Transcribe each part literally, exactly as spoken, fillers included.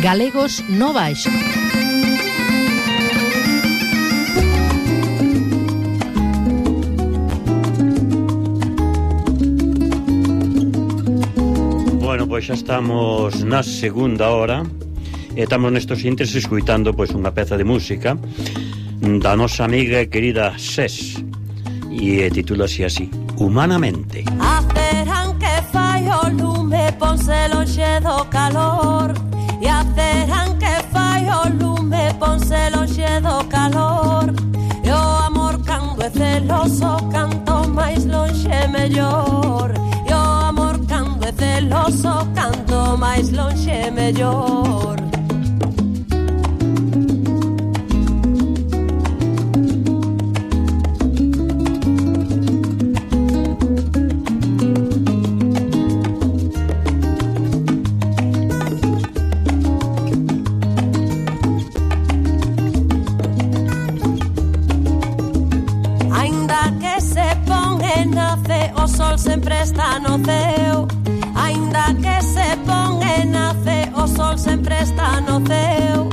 Galegos no Baixo. Bueno, pois xa estamos na segunda hora e estamos nestos intres escuitando pois unha peza de música da nosa amiga e querida Ses e titúlase así, Humanamente. Acerán que fai o lume, ponse lonxe do calor. E acerán que fai o lume, ponse lonxe do calor. E o amor cando é celoso, canto máis lonxe mellor. E o amor cando é celoso, canto máis lonxe mellor. Sempre está no ceo, aínda que se pon e nace, o sol sempre está no ceo.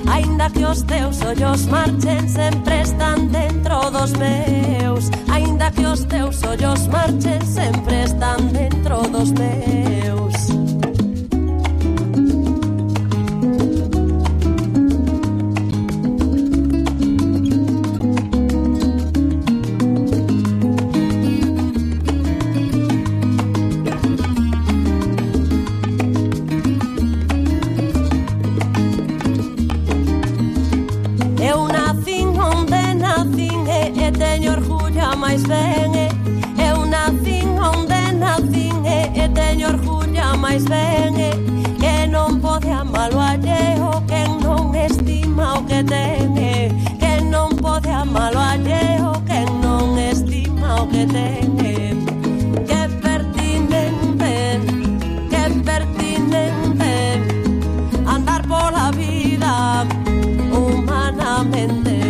Aínda que os teus ollos marchen, sempre están dentro dos meus. Aínda que os teus ollos marchen, sempre están dentro dos meus. Mais ben, eu nacín onde nacín e teño orgullo máis ben, que non pode amar o alleo, que non estima o que ten, que non pode amar o alleo, que non estima o que ten. Que pertinente, que pertinente andar pola vida humanamente.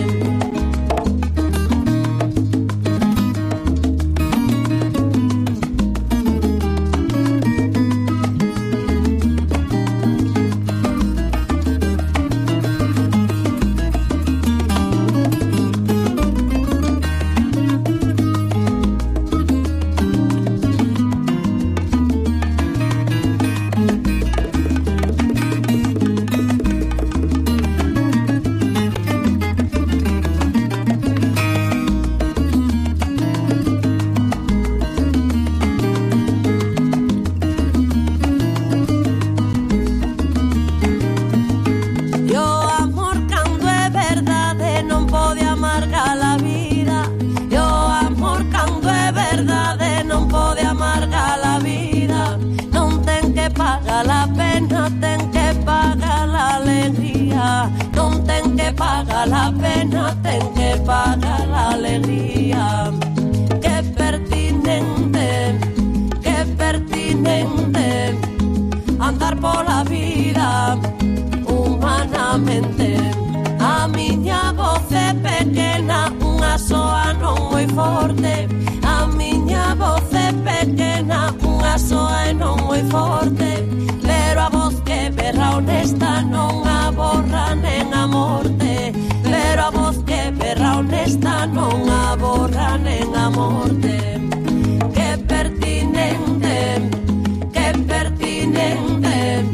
Paga la pena, ten que pagar la alegría. Qué pertinente, qué pertinente andar por la vida humanamente. A miña voz é pequena, unha soa non moi forte. A miña voz é pequena, unha soa e non moi forte. Pero a voz que berra honesta non a borra nen a morte. Pero a voz que berra honesta non a borra nen a morte. Que pertinente, que pertinente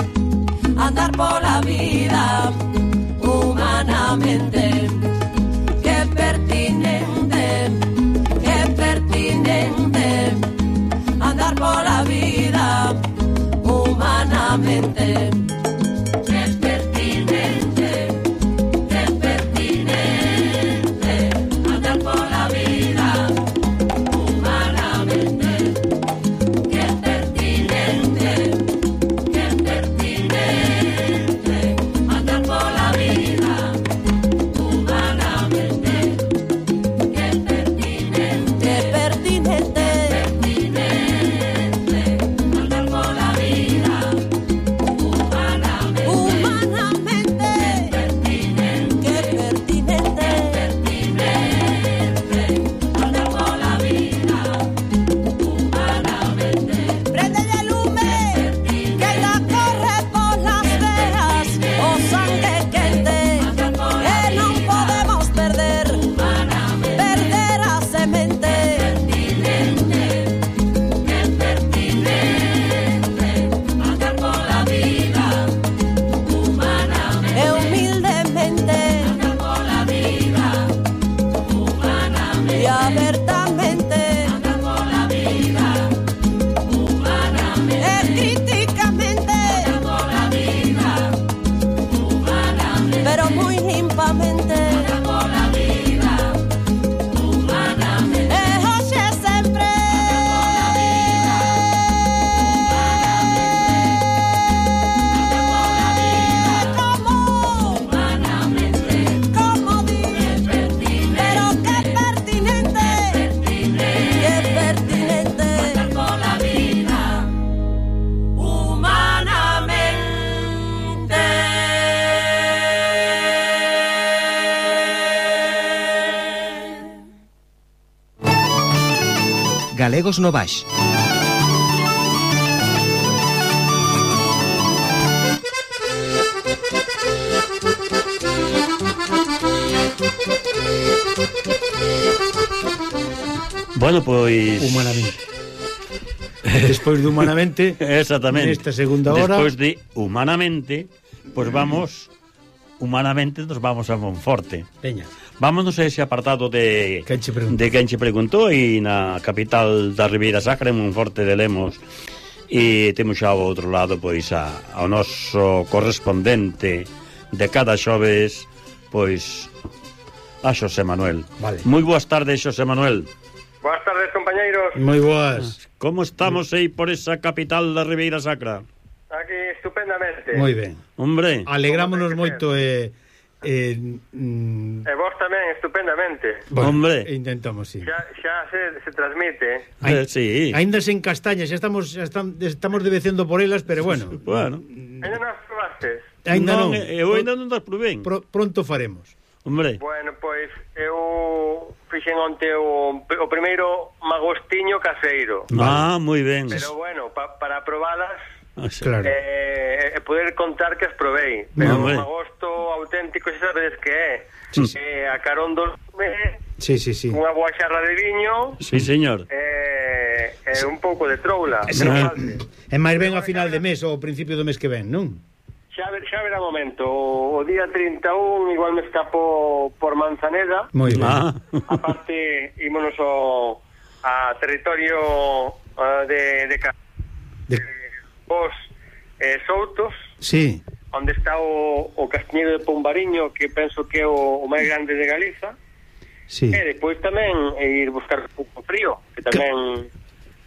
andar pola vida humanamente. Que pertinente, que pertinente Galegos no Baix. Bueno, pois... Humanamente. Despois de Humanamente, exactamente, nesta segunda hora... Despois de Humanamente, pois vamos... Humanamente nos vamos a Monforte. Veña. Vámonos a ese apartado de Quen che preguntou. de quen che preguntou e na capital da Ribeira Sacra, en Monforte de Lemos. E temos xa ao outro lado pois a, ao noso correspondente de cada xoves, pois a Xosé Manuel. Vale. Moi boas tardes, Xosé Manuel. Boas tardes, compañeiros. Moi boas. Como estamos aí por esa capital da Ribeira Sacra? Aquí estupendamente. Moi ben. Hombre, Alegrámonos Como ten que moito e... Eh, mm, E vos tamén estupendamente. bueno, Hombre. intentamos, sí. Xa, xa se, se transmite. eh, sí. Ainda sen castañas, xa estamos xa estamos, estamos debecendo por elas, pero bueno. Bueno, Ainda non as probastes? Ainda non. Eu ainda non das probei. Pro, pronto faremos. Hombre, Bueno, pois eu fixen onte o, o primeiro magostiño caseiro. ah, moi ben. Pero bueno, pa, para probalas Ah, sí. Claro. eh, e poder contar que as probei. Pero Hombre. un magosto auténtico xa sabedes que é. Sí. Eh, a carón dos eh, Sí, sí, sí. unha boa xarra de viño Sí, señor. e eh, eh, un pouco de troula. Sí. Non falte. É máis ben a final de mes ou ao principio do mes que ven, non? Xa, ver, xa verá momento. O día trinta e un igual me escapo por Manzaneda. Moi ben. Ah, Aparte, ímonos ao a territorio uh, de, de, Ca- De... de os eh, Soutos, Sí. onde está o, o Castiñeiro de Pombariño, que penso que é o, o máis grande de Galiza. Sí. E despois tamén eh, ir buscar un pouco frío, que tamén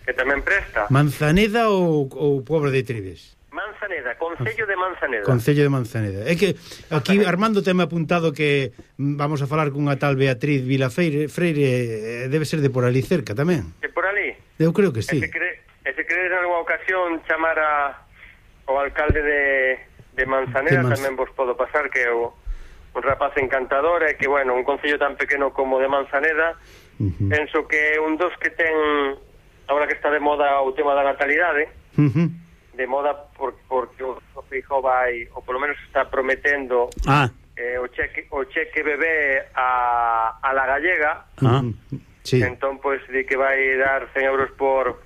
que tamén presta. Manzaneda ou, ou Pobre de Trives? Manzaneda, Concello de Manzaneda. Concello de Manzaneda. É que aquí Armando teme apuntado que mm, vamos a falar cunha tal Beatriz Vilafreire, Freire, eh, debe ser de por ali cerca tamén. Que por ali. Eu creo que sí. E se cre, e se crees en alguna ocasión chamar a, ao alcalde de, de Manzaneda, De Manz- tamén vos podo pasar, que é o, un rapaz encantador, e que, bueno, un concello tan pequeno como de Manzaneda, Uh-huh. penso que é un dos que ten, agora que está de moda o tema da natalidade, Uh-huh. de moda por, porque o Feijóo vai, ou polo menos está prometendo ah, eh, o cheque o cheque bebé a, a la gallega, ah, Sí. entón, pois, di que vai dar cen euros por,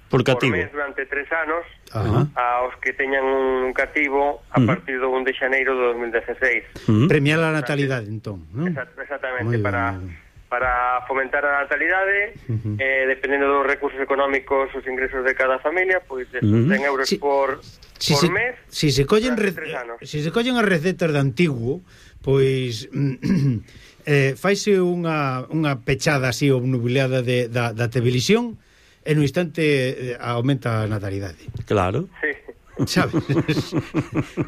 por por cativo. mes durante tres anos, Ajá. aos que teñan un cativo a Mm. partir do un de xaneiro do dos mil dezasseis. Mm. Premiar a natalidade, entón, non? Exact- Exactamente, Moi ben, para moi ben. para fomentar a natalidade, Ujú. eh, dependendo dos recursos económicos, os ingresos de cada familia, pois de Ujú. cen euros Si- por, Si por se, mes. si se collen re, durante tres anos. si se collen as recetas de antiguo, pois eh, faise unha, unha pechada así obnubilada de, da, da televisión e no instante eh, aumenta a natalidade. Claro. Sí. Sabes?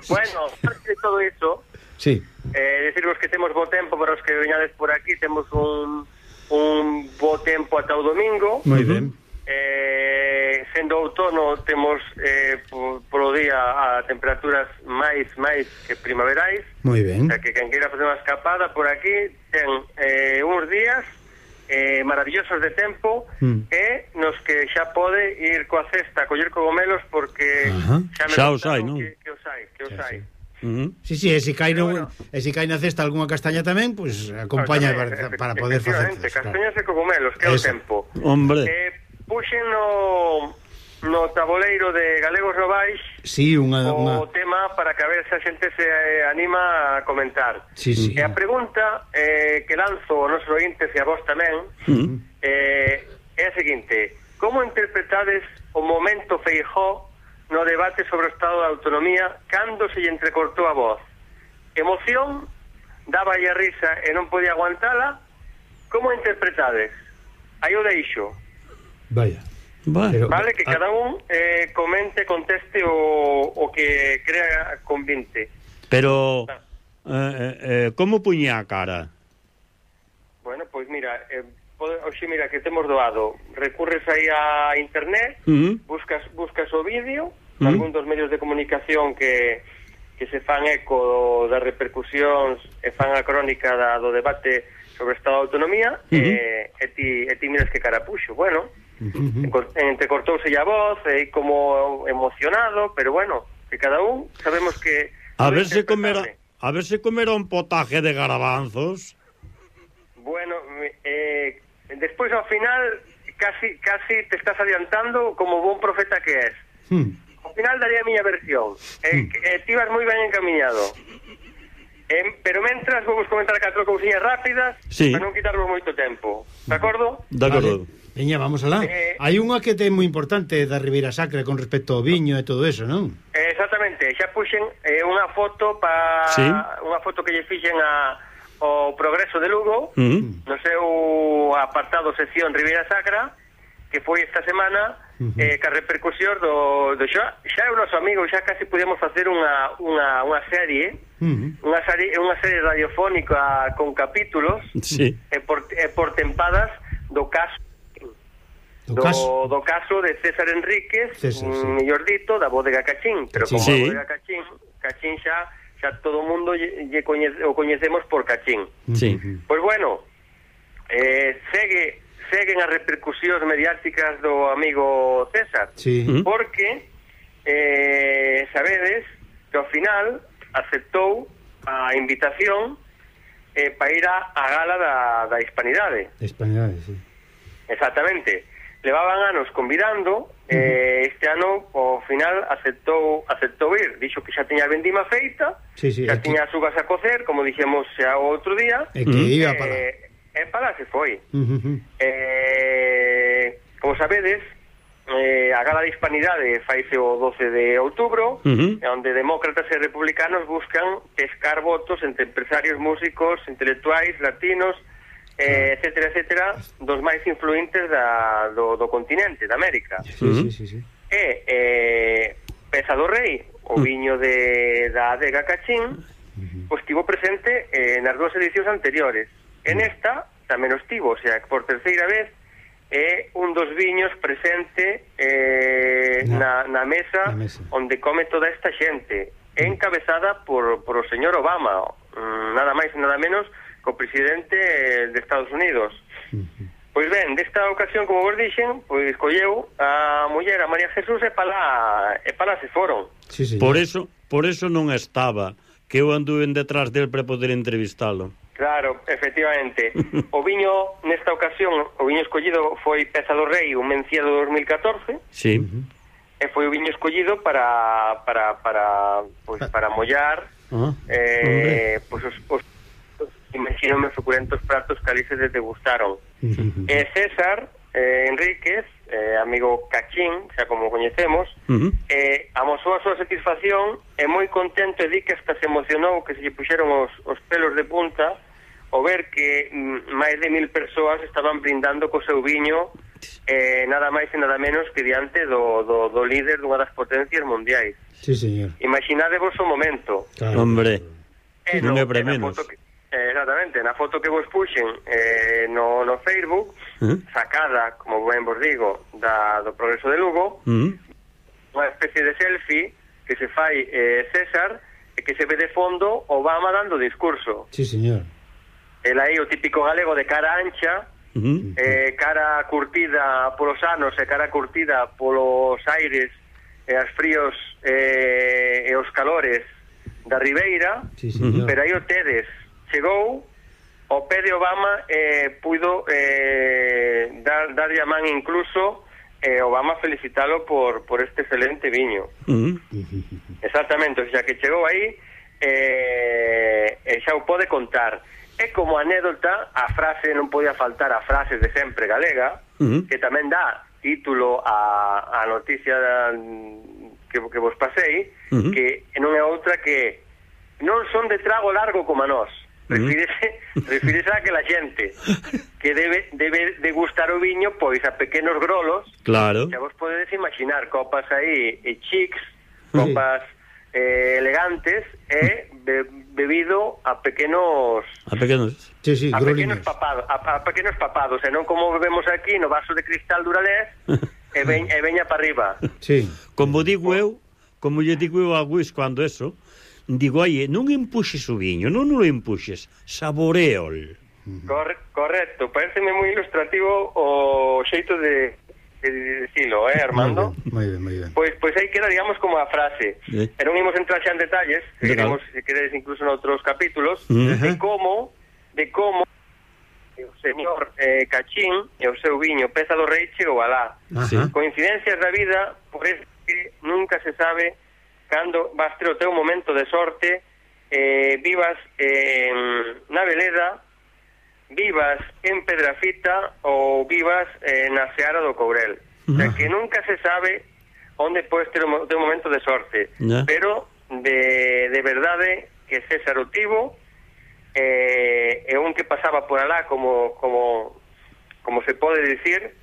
Bueno, aparte de todo iso, Sí. eh, decirvos que temos bo tempo para os que veñades por aquí, temos un, un bo tempo ata o domingo. Moi ben. Eh, sendo outono temos eh, por, polo día a temperaturas máis máis que primaverais, Moi o ben. sea que quen queira facer unha escapada por aquí ten eh, uns días eh, maravillosos de tempo Mm. e nos que xa pode ir coa cesta a coller cogomelos porque Ajá. xa me Xa os contaron hai, non? que, que os hai, que os Xa, hai. sí. Mm. Sí, sí, e se cai, no, Pero bueno. e se cai na cesta algunha castaña tamén, pois pues, acompaña Claro, para, tamén, para poder facer. efectivamente, castañas e cogomelos, que é o Eso. tempo. Hombre, Eh, puxen no, no tabuleiro de Galegos no Baix Sí, unha, o unha... tema para que a ver se a xente se eh, anima a comentar. Sí, sí. E a pregunta eh, que lanzo aos nosos ointes e a vos tamén mm. eh, é a seguinte: como interpretades o momento Feijóo no debate sobre o estado da autonomía cando se lle entrecortou a voz? Emoción? Daba a risa e non podía aguantala? Como interpretades? Aí o deixo. Vaya. Bueno. Pero- Vale, que Ah. cada un eh, comente, conteste o, o que crea convinte. Pero eh, eh, eh, como puñía a cara? Bueno, pois mira, eh, pode, oxe, mira que temos doado. Recurres aí a internet, Mm. buscas buscas o vídeo, Mm. algún dos medios de comunicación que que se fan eco das repercusións e fan a crónica da, do debate sobre o estado de autonomía, Mm-hmm. e, e, ti, e ti miras que cara puxo. Bueno, Uh-huh. Entrecortouse a voz, e como emocionado, pero bueno, que cada un sabemos que... A ver se comera, a ver se comera un potaje de garabanzos. Bueno, eh, despois ao final casi casi te estás adiantando como bon profeta que és. Hmm. Ao final daría a miña versión. Eh, hmm. eh, ti vas moi ben encaminhado. Eh, pero mentras vou vos comentar catro cousiñas rápidas, sí, para non quitarvos moito tempo. De acordo? De acordo. Vale. Veña, vamos alá. Eh, Hai unha que ten moi importante da Ribeira Sacra con respecto ao viño e todo eso, non? Eh, exactamente. Xa puxen eh, unha foto pa sí, unha foto que lle fixen a o Progreso de Lugo, uh-huh, no seu apartado sección Ribeira Sacra, que foi esta semana, uh-huh, eh, ca repercusión do, do xa, xa é o noso amigo, xa casi podemos facer unha, unha, unha serie, uh-huh, unha serie unha serie radiofónica con capítulos, sí, e por, e por tempadas do caso do, do, caso. do caso de César Enríquez, César, sí, mellor dito, da bodega Cachín, pero como sí, a bodega Cachín, Cachín xa xa todo o mundo lle, lle coñece, o coñecemos por Cachín. Sí. Pois bueno, eh, segue seguen as repercusións mediáticas do amigo César, sí, porque eh, sabedes que ao final aceptou a invitación eh, para ir a, a gala da, da Hispanidade. Hispanidade, sí. Exactamente. Levaban anos convidando, eh, este ano ao final aceptou aceptou ir, dixo que xa tiña a vendima feita, sí, sí, xa tiña as uvas a cocer, como dixemos xa o outro día, e que iba para eh, e para se foi. Uh-huh. Eh, como sabedes, eh, a gala de Hispanidade faise o doce de outubro, uh-huh, onde demócratas e republicanos buscan pescar votos entre empresarios, músicos, intelectuais, latinos, eh, etcétera, etcétera, dos máis influentes da, do, do continente, da América. Sí, sí, sí, sí. E eh, Peza do Rei, o viño de, da adega Cachín, uh-huh, pois estivo presente eh, nas dúas edicións anteriores. En esta tamén o estivo, o sea, que por terceira vez é un dos viños presente eh, na, na, mesa, na mesa onde come toda esta xente, encabezada por, por o señor Obama, nada máis e nada menos co presidente de Estados Unidos. Uh-huh. Pois ben, desta ocasión, como vos dixen, pois colleu a muller, a María Jesús, e pala, e pala se foron. Sí, sí. Por eso, por eso non estaba, que eu anduve detrás del para poder entrevistalo. Claro, efectivamente. O viño, nesta ocasión, o viño escollido foi Peza do Rei, un Mencía do dos mil catorce. Sí. Uh-huh. E foi o viño escollido para para para pois para mollar, uh-huh, eh, pois os, os imagínome suculentos pratos que ali se degustaron. Uh-huh. E César eh, Enríquez, eh, amigo Cachín, xa como coñecemos, uh-huh, eh, amosou a súa satisfacción e moi contento, e di que hasta se emocionou, que se lle puxeron os, os pelos de punta ao ver que mm, máis de mil persoas estaban brindando co seu viño, eh, nada máis e nada menos que diante do, do, do líder dunha das potencias mundiais. Sí, señor. Imaginadevos o momento. Claro. Hombre, eh, non é pre menos. Que, eh, exactamente, na foto que vos puxen eh, no, no Facebook, uh-huh, sacada, como ben vos digo, da, do Progreso de Lugo, uh-huh, unha especie de selfie que se fai eh, César, e que se ve de fondo Obama dando discurso. Sí, señor. El aí, o típico galego de cara ancha, uh-huh, eh, cara curtida polos anos e cara curtida polos aires e as fríos eh, e os calores da Ribeira, sí, pero aí o tedes, chegou ao pé de Obama e eh, puido eh, dar, darlle a man incluso eh, Obama felicitalo por, por este excelente viño. Uh-huh. Exactamente, o sea que chegou aí eh, e xa o pode contar. E como anécdota, a frase, non podía faltar a frase de sempre galega, uh-huh, que tamén dá título a, a noticia que, que vos pasei, uh-huh, que non é outra que non son de trago largo como a nós. Refírese, refírese a que la xente que debe debe degustar o viño pois a pequenos grolos. Claro. Xa vos podedes imaginar copas aí e chics, copas sí, eh, elegantes e be, bebido a pequenos a pequenos sí, sí, a pequenos papados, a, a pequenos papados, e non como bebemos aquí no vaso de cristal Duralés e, veñ, e veña para arriba. Sí. Como digo eu, como lle digo eu a Luis cando eso, digo, oye, non empuxes o viño, non o empuxes, saboreol. Corre, correcto, pareceme moi ilustrativo o xeito de, de dicilo, eh, Armando? Moi ben, moi ben. Pois pois aí queda, digamos, como a frase. Sí. E non imos entrar xa en detalles, seguiremos, se queredes, incluso noutros capítulos, Uh-huh. de como, de como o señor eh, Cachín e o seu viño Peza do Rei chegou alá. Sí. Coincidencias da vida, por eso que nunca se sabe cando vas ter o teu momento de sorte, eh, vivas eh, na Veleda, vivas en Pedrafita ou vivas eh, na Seara do Courel. O sea, que nunca se sabe onde podes ter o teu momento de sorte. Yeah. Pero de, de verdade que César o tivo, eh, e un que pasaba por alá como como como se pode dicir,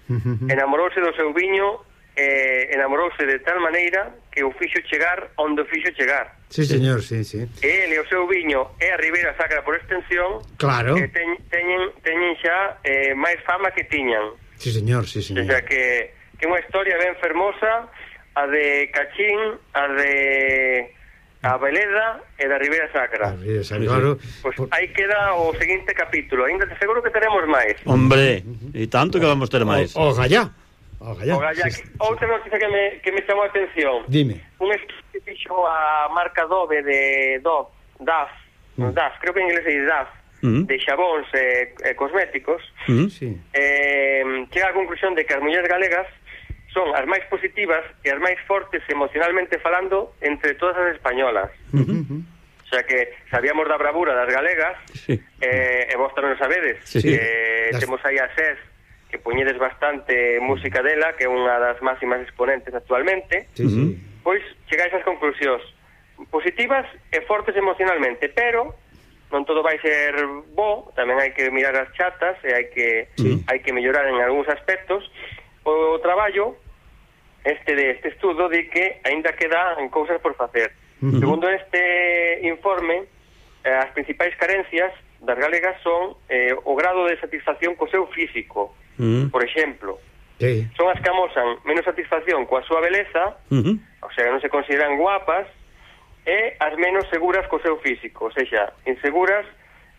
enamorouse do seu viño, eh, enamorouse de tal maneira que o fixo chegar onde o fixo chegar. Sí, señor, sí, sí. E ele o seu viño é a Ribeira Sacra por extensión, Claro. que ten, teñen, teñen xa eh, máis fama que tiñan. Sí, señor, sí, O señor. sea que, que unha historia ben fermosa, a de Cachín, a de a Veleda e da Ribeira Sacra. Ah, sí, sí, claro. Pois Por- aí queda o seguinte capítulo. Ainda te seguro que teremos máis. Hombre, e tanto que vamos ter máis. O, o gallá. O gallá. O Gallá, Sí, sí. outra noticia que me, que me chamou a atención. Dime. Un estudio que fixo a marca Dove de Dove, D A F, Mm. D A F, creo que en inglés é D A F, Mm. de xabóns e eh, cosméticos, Mm. Sí. eh, chega á conclusión de que as mulleres galegas son as máis positivas e as máis fortes emocionalmente falando entre todas as españolas. Ujú. O sea que sabíamos da bravura das galegas, Sí. eh, e vos tamén o sabedes. Sí. Eh, Las- Temos aí a SES, que poñedes bastante música dela, que é unha das máximas exponentes actualmente. Sí, sí. Pois chegáis ás conclusións positivas e fortes emocionalmente, pero non todo vai ser bo, tamén hai que mirar as chatas e hai que Sí. hai que mellorar en algúns aspectos. O traballo este de este estudo di que aínda quedan cousas por facer. Ujú. Segundo este informe, eh, as principais carencias das galegas son eh, o grado de satisfacción co seu físico. Mm. Por exemplo, Sí. son as que amosan menos satisfacción coa súa beleza, Mhm. o sea, non se consideran guapas, e as menos seguras co seu físico, ou seja, inseguras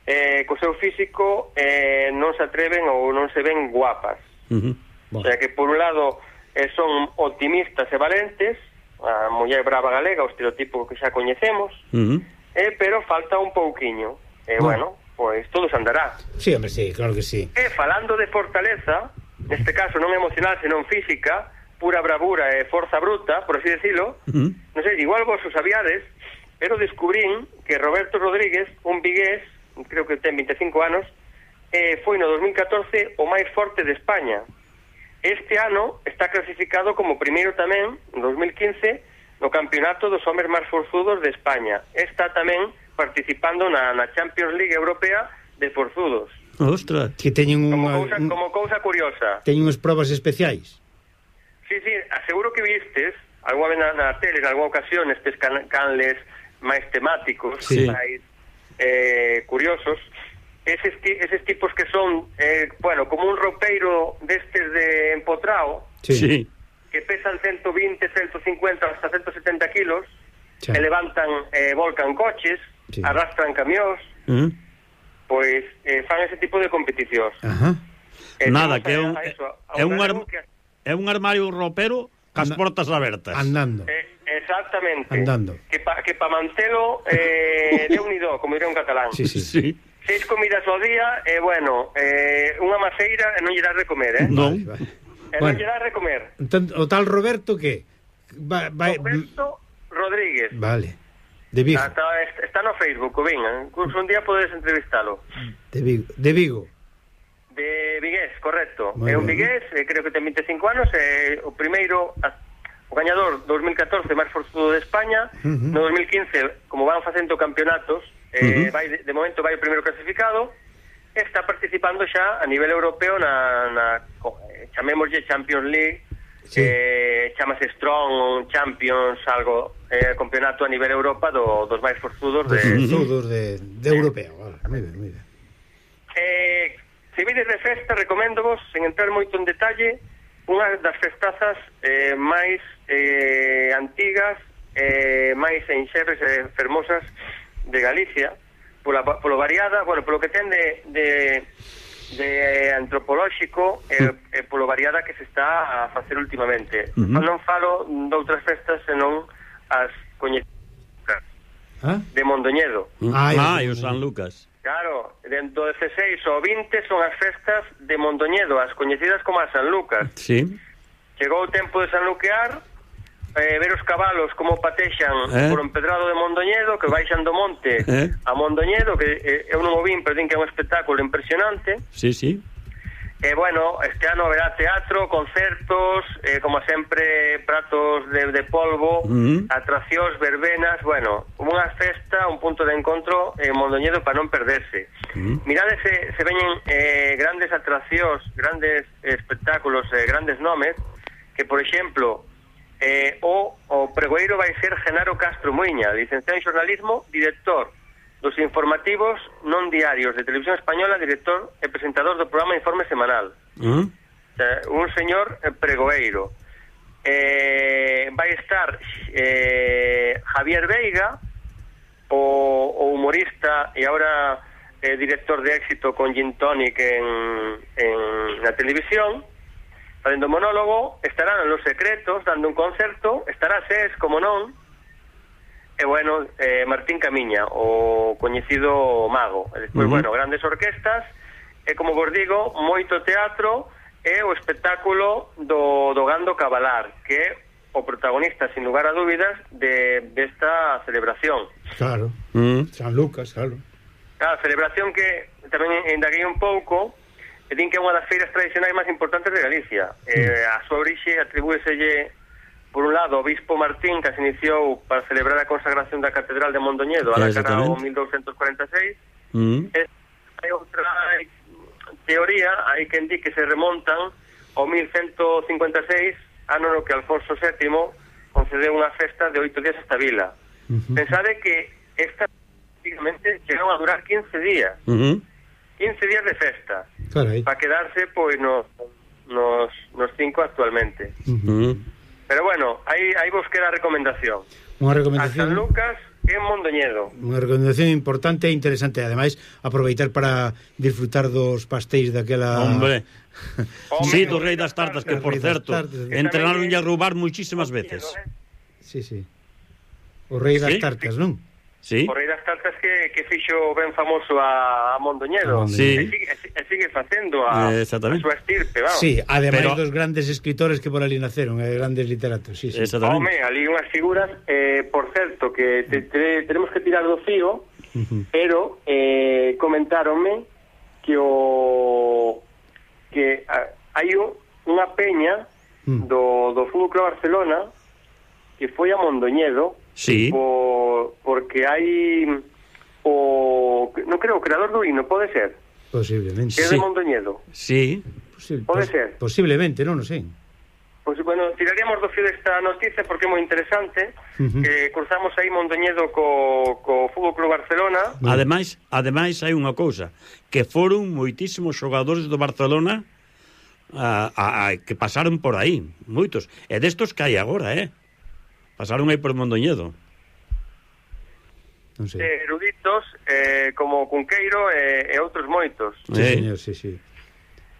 eh, co seu físico eh, non se atreven ou non se ven guapas. Mhm. O sea que, por un lado, eh, son optimistas e valentes, a muller brava galega, o estereotipo que xa coñecemos, Mhm. eh, pero falta un pouquiño. E, Bueno. bueno, pois todo se andará. Sí, hombre, sí, claro que sí. E falando de fortaleza, neste caso non emocional, senón física, pura bravura e forza bruta, por así decirlo, Mhm. non sei, igual vos o sabíades, pero descubrín que Roberto Rodríguez, un vigués, creo que ten veinticinco anos, eh, foi no dos mil catorce o máis forte de España. Este ano está clasificado como primeiro tamén, en dos mil quince, no campeonato dos homes máis forzudos de España. Está tamén participando na, na Champions League Europea de forzudos. Ostras. Que teñen Como unha, cousa, un, como cousa curiosa. teñen unhas probas especiais. Sí, sí, aseguro que vistes algunha vez na, na tele, en algunha ocasión, estes can, canles máis temáticos, Sí. máis eh, curiosos, eses, ti, eses tipos que son, eh, bueno, como un ropeiro destes de empotrao, Sí. Sí. que pesan ciento veinte, ciento cincuenta, hasta ciento setenta kilos, Xa. e levantan, eh, volcan coches, Sí. arrastran camións, Mhm. pois eh, fan ese tipo de competicións. Ajá. Eh, Nada, temos que é a- un a eso, a é un galego arm- que- é un armario ropero cas Anda- portas abertas. Andando. Eh, exactamente. Andando. Que pa, que pa mantelo eh, de unido, como diría un catalán. Sí, sí. Sí. Seis comidas ao día, e eh, bueno, eh, unha maceira e non lle dá de comer, eh? No. Vale, vale. E non Bueno. lle dá de comer. Entón, o tal Roberto que va, va, Roberto Rodríguez. vale. De Vigo, Está, está no Facebook, o venga. Incluso un día podes entrevistalo. de Vigo, de Vigo. De Vigués, correcto. Moi É un ben. Vigués, eh, creo que ten veinticinco anos, é o primeiro, a, o gañador dos mil catorce máis forzudo de España. Ujú. No dos mil quince, como van facendo campeonatos, eh, Ujú. vai, de, de momento vai o primeiro clasificado, está participando xa a nivel europeo na, na co- eh, chamémoslle Champions League, Sí. eh, chamase Strong Champions, algo, eh, campeonato a nivel Europa do, dos máis forzudos De de... forzudos de, de europeo. Vale, moi ben, moi ben. Eh, se vides de festa, recoméndovos, sen entrar moito en detalle, unha das festazas eh, máis eh, antigas, eh, máis enxerres e fermosas de Galicia, pola, polo variada, bueno, polo que ten de, de, de antropolóxico e, uh-huh. e polo variada que se está a facer últimamente. Uh-huh. Non falo doutras festas senón as coñecidas ¿Ah? de Mondoñedo. Ah, ah e o San Lucas. Claro, dentro do dezasseis ao vinte son as festas de Mondoñedo, as coñecidas como a San Lucas. Sí. Chegou o tempo de San Luquear, eh, ver os cabalos como patexan eh? por o empedrado de Mondoñedo, que baixan do monte eh? a Mondoñedo, que eh, eu non o vin, pero din que é un espectáculo impresionante. Sí, sí. E, bueno, este ano haberá teatro, concertos, eh, como sempre, pratos de, de polvo, uh-huh. atraccións, verbenas, bueno, unha festa, un punto de encontro en Mondoñedo para non perderse. Uh-huh. Mirade se, se veñen eh, grandes atraccións, grandes espectáculos, eh, grandes nomes, que, por exemplo, eh, o, o pregoeiro vai ser Genaro Castro Muiña, licenciado en xornalismo, director dos informativos non diarios de Televisión Española, director e presentador do programa Informe Semanal. Uh-huh. O sea, un señor pregoeiro. Eh, vai estar eh, Javier Veiga, o, o humorista e ahora eh, director de éxito con Gin Tonic en, en la televisión, facendo monólogo. Estarán Los Secretos dando un concerto, estará Ses, como non, e, bueno, eh, Martín Camiña, o coñecido mago. E despois, uh-huh. bueno, grandes orquestas, e, como vos digo, moito teatro e o espectáculo do, do Gando Cabalar, que é o protagonista, sin lugar a dúbidas, de desta celebración. Claro, uh-huh. San Lucas, claro. Claro, celebración que tamén indaguei un pouco, e din que é unha das feiras tradicionais máis importantes de Galicia. Uh-huh. Eh, a súa orixe atribúeselle, por un lado, o Bispo Martín, que se iniciou para celebrar a consagración da Catedral de Mondoñedo a la cara o mil douscentos cuarenta e seis. Mm. E hai outra teoría, hai quen di que se remontan ao mil cento cincuenta e seis, ano no que Alfonso sétimo concedeu unha festa de oito días esta vila. Uh-huh. Pensade que esta prácticamente chegaron a durar quince días. Uh-huh. quince días de festa. Carai. Para quedarse, pois, nos, nos, nos cinco actualmente. Uh-huh. Pero bueno, aí, aí vos queda a recomendación. Unha recomendación. A San Lucas e Mondoñedo. Unha recomendación importante e interesante. Ademais, aproveitar para disfrutar dos pastéis daquela... Hombre. Sí, do Rei das Tartas, que, por certo, entrenaron a roubar muchísimas veces. Sí, sí. O Rei das Tartas, non? Sí. O Rei das Tartas que, que fixo ben famoso a, a Mondoñedo. Sí. E sigue, e sigue facendo a, a súa estirpe, vamos. Sí, ademais Pero... dos grandes escritores que por ali naceron, eh, grandes literatos, sí, sí. Home, ali unhas figuras, eh, por certo, que te, te, tenemos que tirar do fío, uh-huh. pero eh, comentáronme que o que a, hai unha peña uh-huh. do, do Fútbol Club Barcelona que foi a Mondoñedo. Sí. Por, porque hai o non creo o creador do himno, pode ser? Posiblemente. Que é sí. de Mondoñedo. Sí. Posible, pode pos, ser? Posiblemente, non o sei. Pois, pues, bueno, tiraríamos do fío desta noticia porque é moi interesante. Uh-huh. Que cruzamos aí Mondoñedo co, co Fútbol Club Barcelona. Uh-huh. Ademais, ademais hai unha cousa, que foron moitísimos xogadores do Barcelona a, a, a, que pasaron por aí, moitos. E destos que hai agora, eh? Pasaron aí por Mondoñedo. Non sei. Eh, eruditos, eh, como Cunqueiro e, e outros moitos. Sí, eh. señor, sí, sí. E,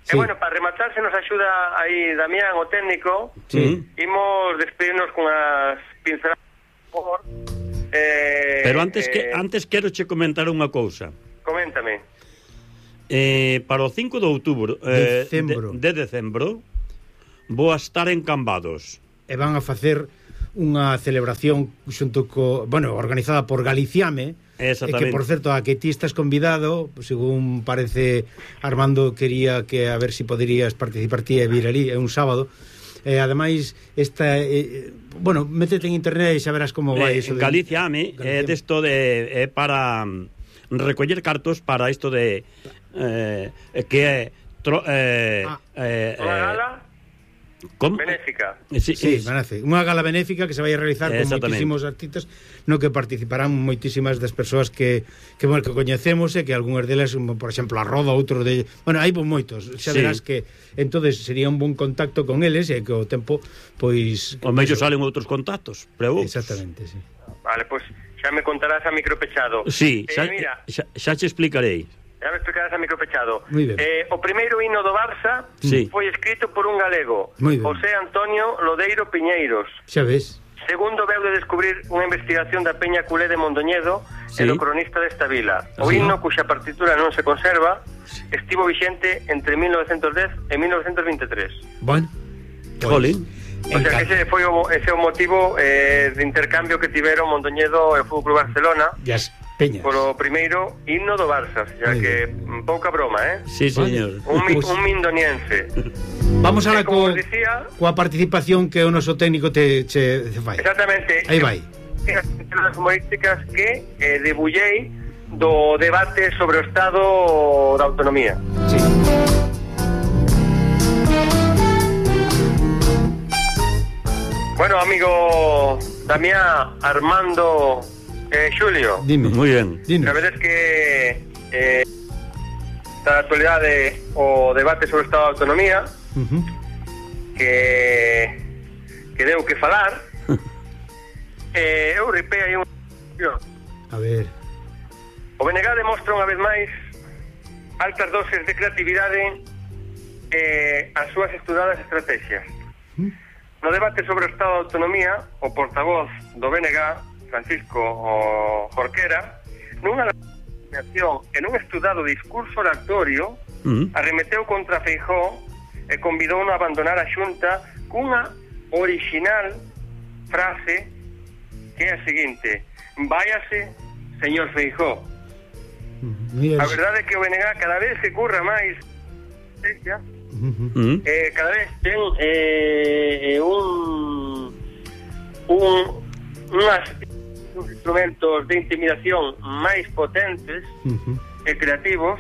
sí. bueno, para rematar, se nos axuda aí Damián, o técnico. Sí. Imos despedirnos con as pinceladas. Eh, Pero antes, eh, que, antes quero che comentar unha cousa. Coméntame. Eh, para o cinco de outubro eh, Decembro. de, de decembro vou a estar en Cambados. E van a facer unha celebración xunto co, bueno, organizada por Galiciame, e que, por certo, a que ti estás convidado, según parece Armando quería que a ver si poderías participar ti e vir ali, é un sábado. E ademais esta eh, bueno, métete en internet e xa verás como vai eh, eso de Galiciame é desto de é para recoller cartos para isto de eh, que é tro, eh, ah, eh, unha gala ¿Cómo? benéfica. Sí, sí, sí. Unha gala benéfica que se vai a realizar con moitísimos artistas, no que participarán moitísimas das persoas que que, bueno, que coñecemos e que algunhas delas, por exemplo, a Roda, outros de, bueno, hai moitos. Xa verás sí. que entonces sería un bon contacto con eles e que o tempo pois o mellor salen outros contactos, pero exactamente, sí. Vale, pois pues, xa me contarás a micro pechado. Sí, eh, xa, mira, xa, xa che explicarei. Já me explicarás a micro pechado. Eh, o primeiro hino do Barça sí. foi escrito por un galego, José Antonio Lodeiro Piñeiros. Xa ves. Segundo, veu de descubrir unha investigación da Peña Culé de Mondoñedo, sí. e do cronista desta vila. O sí. himno, cuxa partitura non se conserva, estivo vixente entre mil novecentos dez e mil novecentos veintitrés. Bueno, jolín. O sea que ese foi o, ese o motivo eh, de intercambio que tiveron Mondoñedo e o Fútbol Club Barcelona. Yes. Peñas. Polo primeiro himno do Barça, xa que bien. Pouca broma, eh? Sí, señor. Un, mi, un mindoniense. Vamos a la co, decía, coa participación que o noso técnico te, che, te fai. Exactamente. Aí vai. As humorísticas que eh, debullei do debate sobre o estado da autonomía. Sí. Bueno, amigo Damián, Armando, eh, Xulio. Dime. Muy bien. Dime. La verdad es que eh, está na actualidade o debate sobre o estado da autonomía, uh-huh. que que deu que falar. eh, eu ripei aí un... A ver. O B N G demostra unha vez máis altas doses de creatividade e eh, as súas estudadas estrategias. Uh-huh. No debate sobre o estado da autonomía, o portavoz do B N G, Francisco Jorquera, nunha declaración en un estudado discurso oratorio, uh-huh. arremeteu contra Feijóo e convidou a abandonar a Xunta cunha original frase que é a seguinte: váyase, señor Feijóo. Uh-huh. A verdade é que o B N G cada vez se curra máis uh-huh. eh, cada vez ten eh, un un unhas uns instrumentos de intimidación máis potentes uh-huh. e creativos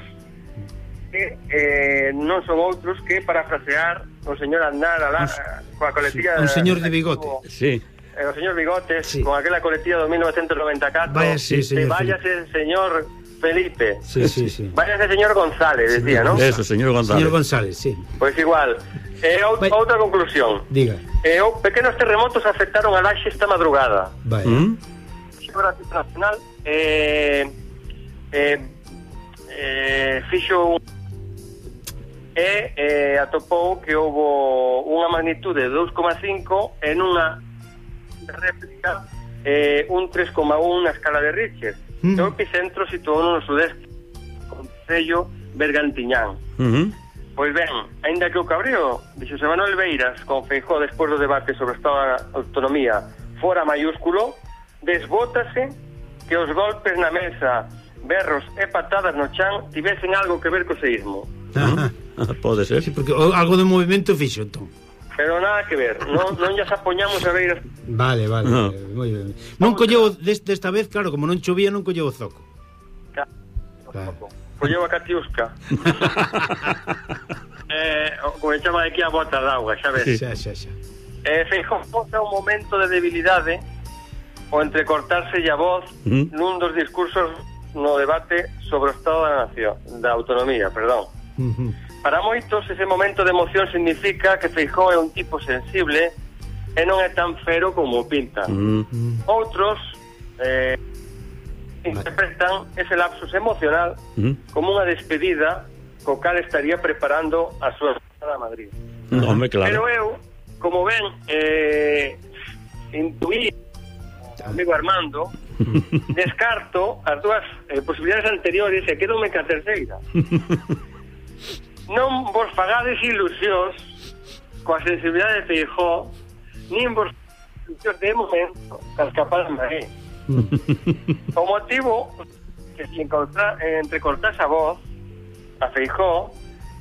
que eh, non son outros que parafrasear o señor Aznar alá, coa coletilla sí, un señor de bigote o, sí. eh, o señor Bigotes sí. con aquela coletilla de mil novecientos noventa e catro. Vaya, sí, señor, váyase señor Felipe. Sí, sí, sí. Váyase señor González, decía, ¿no? Eso, señor González. Señor González, sí. Pois pues igual. Eh, Vai... outra conclusión. Diga. Eh, pequenos terremotos afectaron a Laxe esta madrugada. Vai. ¿Mm? Geografía Internacional eh, eh, eh, fixo un e eh, atopou que houbo unha magnitude de dous coma cinco en unha réplica eh, un tres coma un na escala de Richter. Mm. O epicentro situou no sudeste, concello Bergantiñán. Uh-huh. Pois ben, aínda que o cabreo de Xosé Manuel Beiras con Feijóo despois do debate sobre o estado da autonomía fora maiúsculo, desbótase que os golpes na mesa, berros e patadas no chan tivesen algo que ver co seísmo. Ah, pode ser. Sí, porque algo de movimento fixo, entón. Pero nada que ver, non, non ya se apoñamos a ver. Vale, vale, no. moi ben. Non colleu deste, desta vez, claro, como non chovía, non colleu o zoco. Claro. Colleu a Catiusca. eh, como chama aquí a bota de agua, xa ves. Sí. Xa, xa, xa. Eh, Feijóo posa un momento de debilidade o entrecortarse a voz uh-huh. nun dos discursos no debate sobre o estado da nación, da autonomía, perdón. Uh-huh. Para moitos, ese momento de emoción significa que Feijóo é un tipo sensible e non é tan fero como pinta. Uh-huh. Outros eh, interpretan ese lapsus emocional uh-huh. como unha despedida co cal estaría preparando a súa estada a Madrid. No, hombre, claro. Pero eu, como ven, eh, intuí amigo Armando, descarto as dúas eh, posibilidades anteriores e quedome ca terceira. Non vos fagades ilusións coa sensibilidade de Feijóo, nin vos ilusións de momento cas capaz de Maé. O motivo que se entrecortase a voz a Feijóo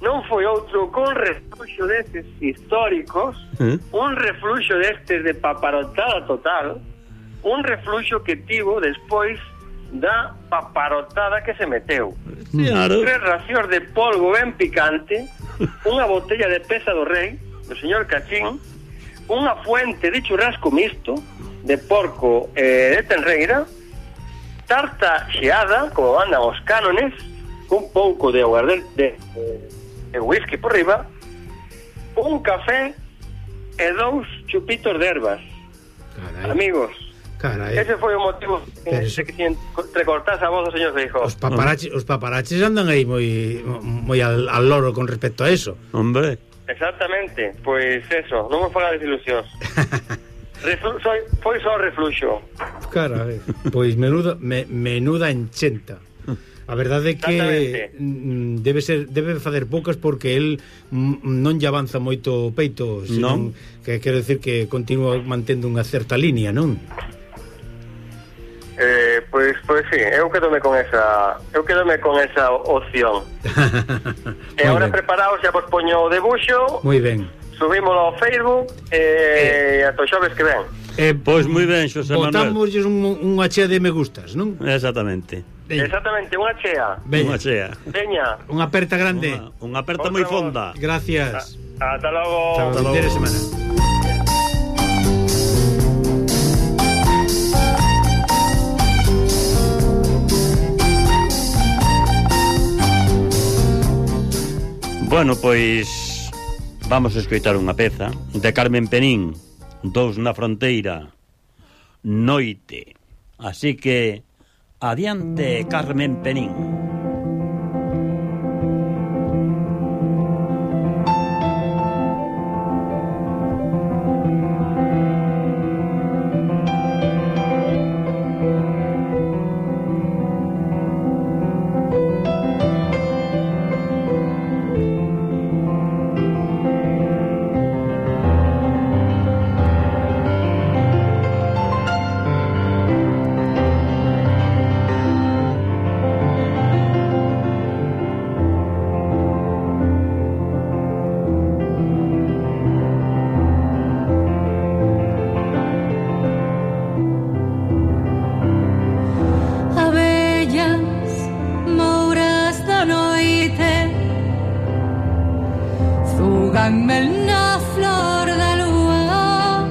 non foi outro con refluxo destes históricos, ¿Eh? un refluxo destes de paparotada total, un refluxo que tivo despois da paparotada que se meteu. Claro. Tres racións de polvo ben picante, unha botella de pesa do rei, do señor Cachín, unha fuente de churrasco mixto, de porco e eh, de tenreira, tarta xeada, como andan os cánones, un pouco de aguardente de, de, de whisky por riba, un café e dous chupitos de ervas. Carai. Amigos, Carai. Ese foi o motivo Pero de eso- que se entrecortase a voz do señor Feijóo. Os paparaches, os paparaches andan aí moi moi al, al loro con respecto a eso. Hombre. Exactamente, pois eso, non me faga desilusións. Reflu soy, foi só refluxo. Carai, pois menuda me, menuda enchenta. A verdade é que Exactamente. mm, debe ser debe facer poucas porque el mm, non lle avanza moito o peito, senón que quero decir que continúa mantendo unha certa línea, non? Eh, pois, pois sí, eu quedome con esa eu quedome con esa opción. E agora preparaos, xa vos poño o debuxo, Moi ben. subímolo ao Facebook e eh, ata o xoves que ven. Eh, Pois moi ben, Xosé Manuel. botamos un, unha chea de me gustas, non? Exactamente. Veña, Exactamente, unha chea. veña. Unha chea. Veña, Unha aperta grande. Unha, unha aperta Outra moi voz. fonda. Gracias. ata logo. Hasta Hasta o fin de logo. semana. Bueno, pois vamos a escoitar unha peza de Carmen Penín, Dous na fronteira, Noite. Así que adiante, Carmen Penín. Abellas, mouras da noite, zúganme na flor da lúa.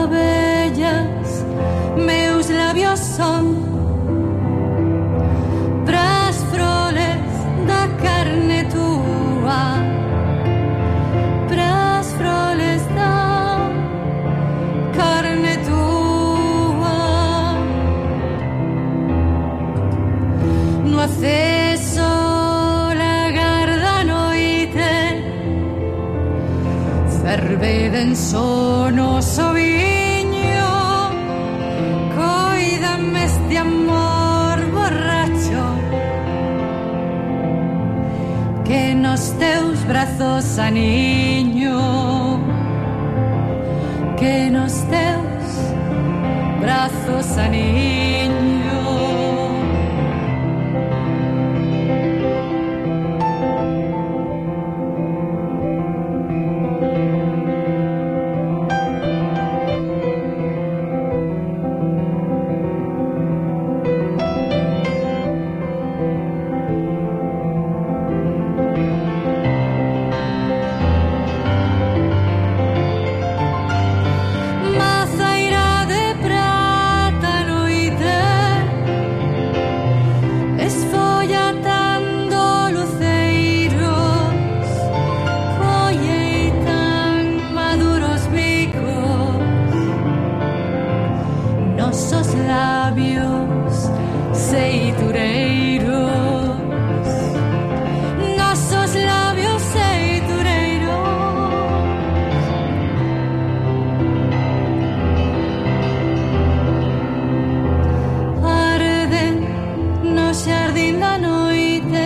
Abellas, meus labios son pras froles da carne túa, pras froles da carne túa. No acceso lagar da noite, ferve denso noso viño, coídame este amor borracho, que nos teus brazos aniño, que nos teus brazos aniño. Mazaira de prata noite, esfollatando luceiros, colleitan maduros bicos, nosos labios seitureiros, nosos labios seitureiros. Arden no xardín da noite,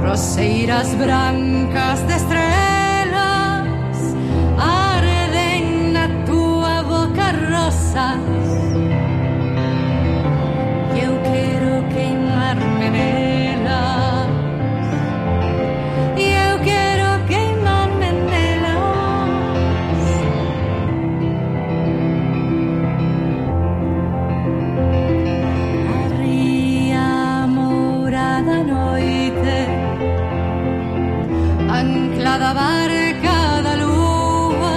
roseiras brancas de estrelas, arden na túa boca rosas, e eu quero queimarme nelas, e eu quero queimarme nelas. A ría mourada noite, anclada a barca da lúa,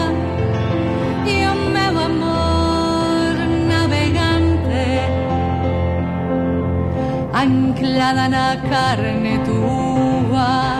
e o meu amor navegante, anclada na carne túa.